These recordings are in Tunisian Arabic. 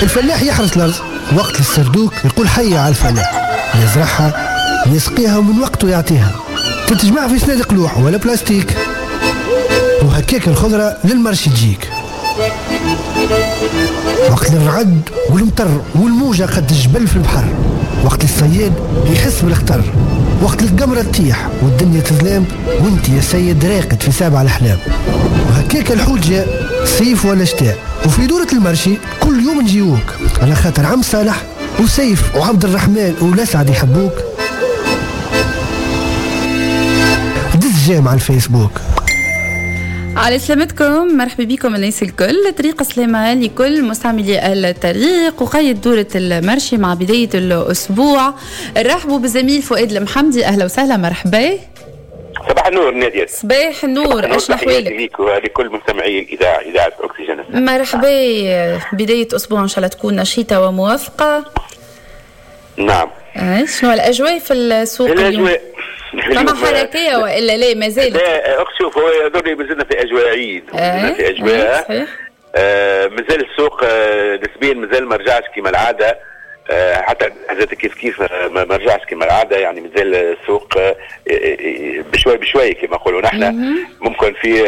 الفلاح يحرث الارض وقت السردوك يقول حي على الفلاح، يزرعها يسقيها ومن وقته يعطيها، تتجمع في صناديق لوح ولا بلاستيك، وهكاك الخضرة لل marché تجيك. وقت الرعد والمطر والموجة قد الجبل في البحر، وقت الصياد يحس بالخطر، وقت القمرة تطيح والدنيا تظلام وانت يا سيد راقد في سابع الأحلام. وهكاك الحوت جاء صيف ولا شتاء، وفي دورة ال marché كل يوم نجيوك على خاطر عم صالح وسيف وعبد الرحمن ولسعد يحبوك. دز j'aime على الفيسبوك. على سلامتكم، مرحبا بكم الناس الكل. طريق سلامة لكل مستعملي الطريق وقيد دورة ال marché مع بداية الأسبوع. رحبوا بالزميل فؤاد المحمدي، أهلا وسهلا، مرحبا. صباح النور نادية. صباح النور، ايش احوالك؟ ليك ولكل مستمعي الإذاعة، إذاعة أكسجين. مرحبا، بداية أسبوع إن شاء الله تكون نشيطة وموافقة. نعم. شنو الأجواء في السوق اليوم؟ فما حركية وإلا لا ما زالت؟ لا شوف، هو يظل مازلنا في أجواء عيد، مازلنا في أجواء. صحيح. مازال السوق نسبيا مازال ما رجعش كما العادة، حتى حاجات كيف كيف ما رجعش كما العادة، يعني مازال السوق بشوي بشوي كما نقولوا نحن. ممكن في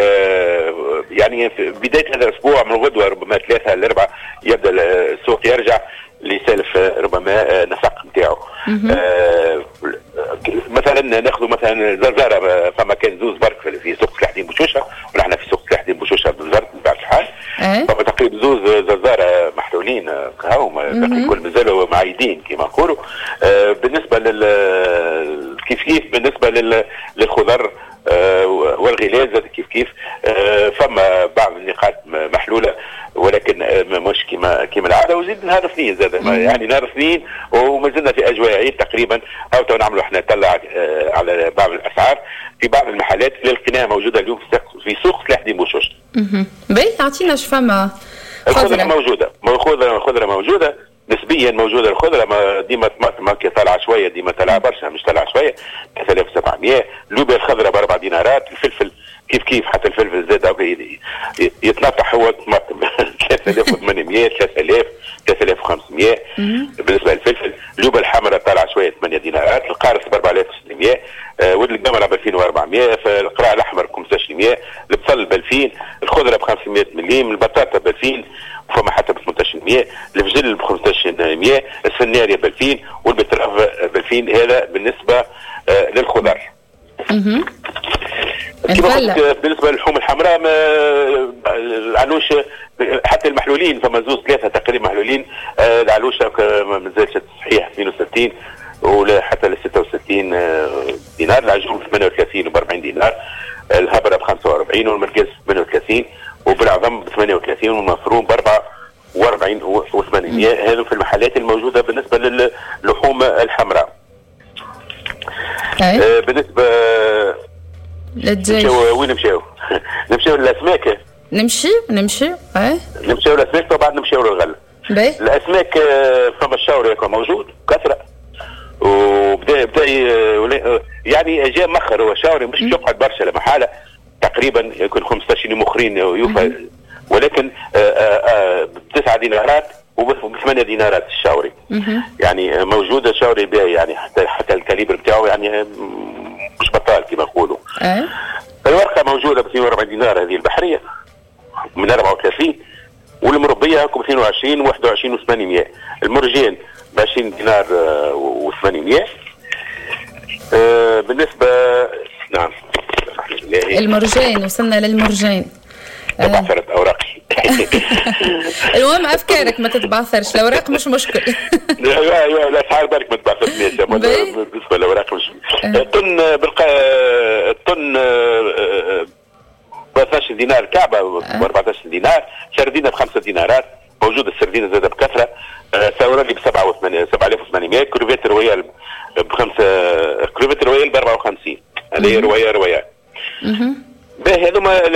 يعني في بداية هذا الأسبوع من غدوة ربما 3 ل 4 يبدأ السوق يرجع لسالف ربما نسق نتاعو. مثلا ناخذ مثلا زرزاره، فما كان زوز برك في سوق سلاح الدين بوشوشه، ونحن في سوق سلاح الدين بوشوشه بالزرت من بعد الحال فما تقريبا زوز زرزاره محلولين هاو الكل مازالوا معيدين كما نقولوا. بالنسبة لل كيف كيف بالنسبة للخضر والغلاز كيف كيف، فما بعض النقاط محلولة ولكن مش كما العادة. وزيد نهار اثنين زاد، يعني نهار اثنين وما زلنا في اجواء عيد تقريبا. او نعملوا احنا طلع على بعض الاسعار في بعض المحلات اللي لقيناها موجودة اليوم في سوق سلاح الدين بوشوش. باهي، اعطينا اش فما. الخضرة موجودة، الخضرة موجودة نسبيا، موجودة الخضرة ديما طماطم طالعه شوية، ديما طالعه برشا مش طالعه شوية، 3700. اللوبيا الخضراء ب4 دينارات، الفلفل كيف كيف، حتى الفلفل زاد يتنطح هو الطماطم 3800 3000 3500 بالنسبة للفلفل. اللوبيا الحمراء طالعه شوية 8 دينارات، القارص ب 4600، والقمره ب 2400، القراع الاحمر ب 1500، البصل ب 2000، الخضرة ب 500 مليم، البطاطا ب 2000 وفما حتى ب 1800، الفجل ب 1500، السناريه ب 2000 وال betterave ب 2000. هذا بالنسبة للخضر. كما قلت بالنسبة للحوم الحمراء العلوش حتى المحلولين فما زوز ثلاثة تقريبا محلولين. العلوشه ما زالش صحيح 62 ولا حتى ل 66 دينار، العجول ب 38 و 40 دينار، الهبره ب 45 والمركز ب 38 وبالعظم ب 38 والمفروم ب 44 و 800. هذو في المحلات الموجودة بالنسبة للحوم الحمراء. بالنسبة للدجاج وين نمشيو؟ نمشيو للاسماك. نمشي نمشيو للاسماك وبعد نمشيو للغله. الاسماك فما الشاوري موجود كثرة، وبدا يعني جاء مخر هو الشاوري مش يقعد برشا لمحاله، تقريبا يكون 15 يوم اخرين يوفى، ولكن ب9 دينارات وب8 دينارات الشاوري. يعني موجودة الشاوري باهي، يعني حتى ال calibre بتاعه يعني مش بطال كما نقولوا. الورقة موجودة ب 42 دينار هذه البحرية من 34، والمربيه ب 22 21 و800، المرجان ب 20 دينار و800. بالنسبة نعم المرجان، وصلنا للمرجان. تبعثرت اوراقي. المهم افكارك ما تتبعثرش، الاوراق مش مشكل. لا لا الاسعار بالك ما تبعثرش بالنسبة للاوراق مش. الطن الطن ب 12 دينار، كعبه ب 14 دينار، سردينه ب 5 دينارات، موجودة السردينه زاده بكثرة. ساورالي ب 7800، crevette royale ب5، crevette royale ب 54، هذه royale. باهي هذوما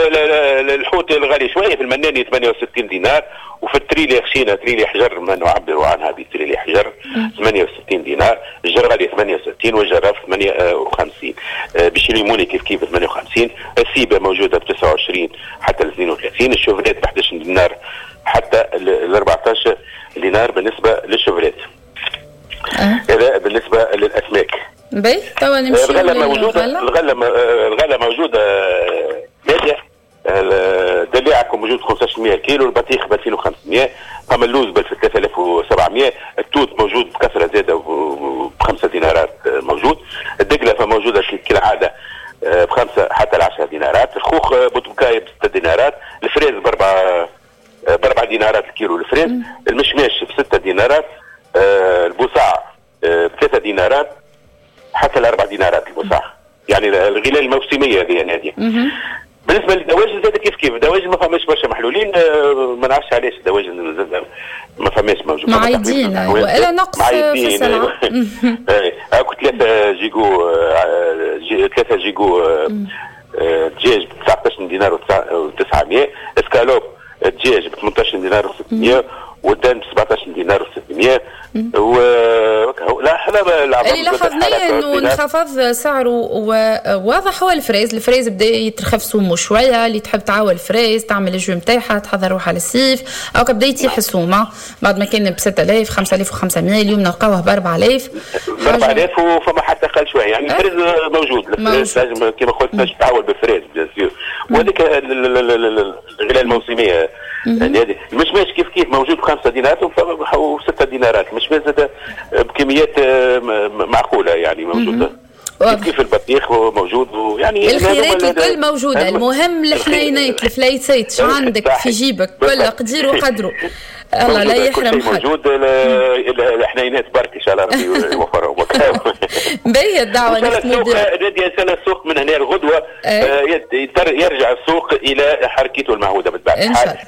الحوت الغالي شوية في المناني 68 دينار، وفي التريلي خشينه تريلي حجر ما نعبروا عنها بتريلي حجر 68 دينار، الجرغلي 68 والجراف 58، بشيليموني كيف كيف 58، السيبه موجودة ب 29 حتى ل 32، الشوفريت ب 11 دينار حتى ال 14 دينار. باهي توا نمشيو. الغلة موجودة، الغلة موجودة ناديه. الدلاعه موجود 1500 كيلو، البطيخ ب 2500، فما اللوز ب 3700، التوت موجود بكثرة زاده ب5 دينارات موجود، الدقله فموجوده كالعادة ب5 حتى 10 دينارات، الخوخ بوتبكاي ب6 دينارات، ال fraise ب4 دينارات الكيلو ال fraise، المشماش ب6 دينارات، البوصاع ب3 دينارات حتى 4 دينارات البوصاع، يعني الغلال الموسمية هذه ناديه. بالنسبة للدواجن زاد كيف كيف، الدواجن ما فماش برشا محلولين، ما نعرفش علاش الدواجن زاد ما فماش موجود. معيدين والا نقص في السلعة. هاكو 3 gigots 3 gigots دجاج ب 19 دينار و900، اسكالوب دجاج ب 18 دينار و600، وال dinde ب 17 دينار و600. و لا احنا اللي لاحظناه انه انخفض سعره وواضح هو ال fraise. ال fraise بدا يترخف سومه شوية، اللي تحب تعاول fraise تعمل ال jus نتاعها تحضر روحها للصيف، او بدا يتيح السومه بعد ما كان ب 6000 5500 اليوم نلقاوه ب 4000 4000 وفما حتى اقل شوية. يعني ال fraise موجود، ال fraise لازم كما قلت باش تعاول بال fraise bien sûr، وهذيك الغلاء الموسمية. يعني المشماش كيف كيف موجود ب5 دينارات و6 دينارات، المشماش زاد بكميات معقولة يعني موجودة. كيف كيف البطيخ موجود، يعني الخيرات الكل موجودة. المهم الحنينات الفليسات شو عندك في جيبك كل قدير وقدره. الله لا يحرم حد. موجود الحنينات برك ان شاء الله ربي يوفرهم. باهي الدعوة نختموا بها. نادية ان شاء الله السوق من هنا الغدوه يرجع السوق الى حركته المعهودة بالطبع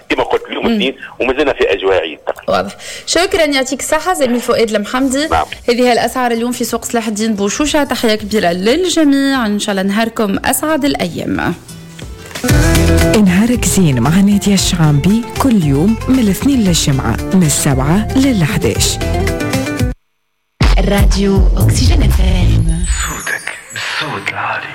كما قلت اليوم الاثنين، ومازلنا في اجواء عيد. واضح. شكرا يعطيك الصحة زميل فؤاد المحمدي. نعم. هذه هي الاسعار اليوم في سوق سلاح الدين بوشوشه. تحية كبيرة للجميع، ان شاء الله نهاركم اسعد الايام. نهارك زين مع نادية الشعامبي كل يوم من الاثنين للجمعة من 7 لل11. الراديو أكسجين FM، صوتك بالصوت العالي.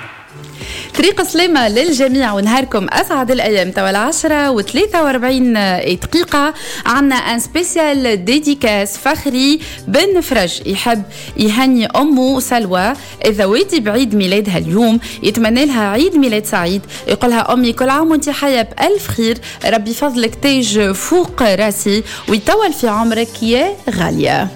طريق سلامة للجميع ونهاركم أسعد الأيام. توا 10:43 عنا un spécial dédicace فخري بن فرج يحب يهني أمه سلوى الذواتي بعيد ميلادها اليوم، يتمنى لها عيد ميلاد سعيد، يقولها أمي كل عام وانت حية بألف خير، ربي فضلك تاج فوق راسي ويطول في عمرك يا غالية.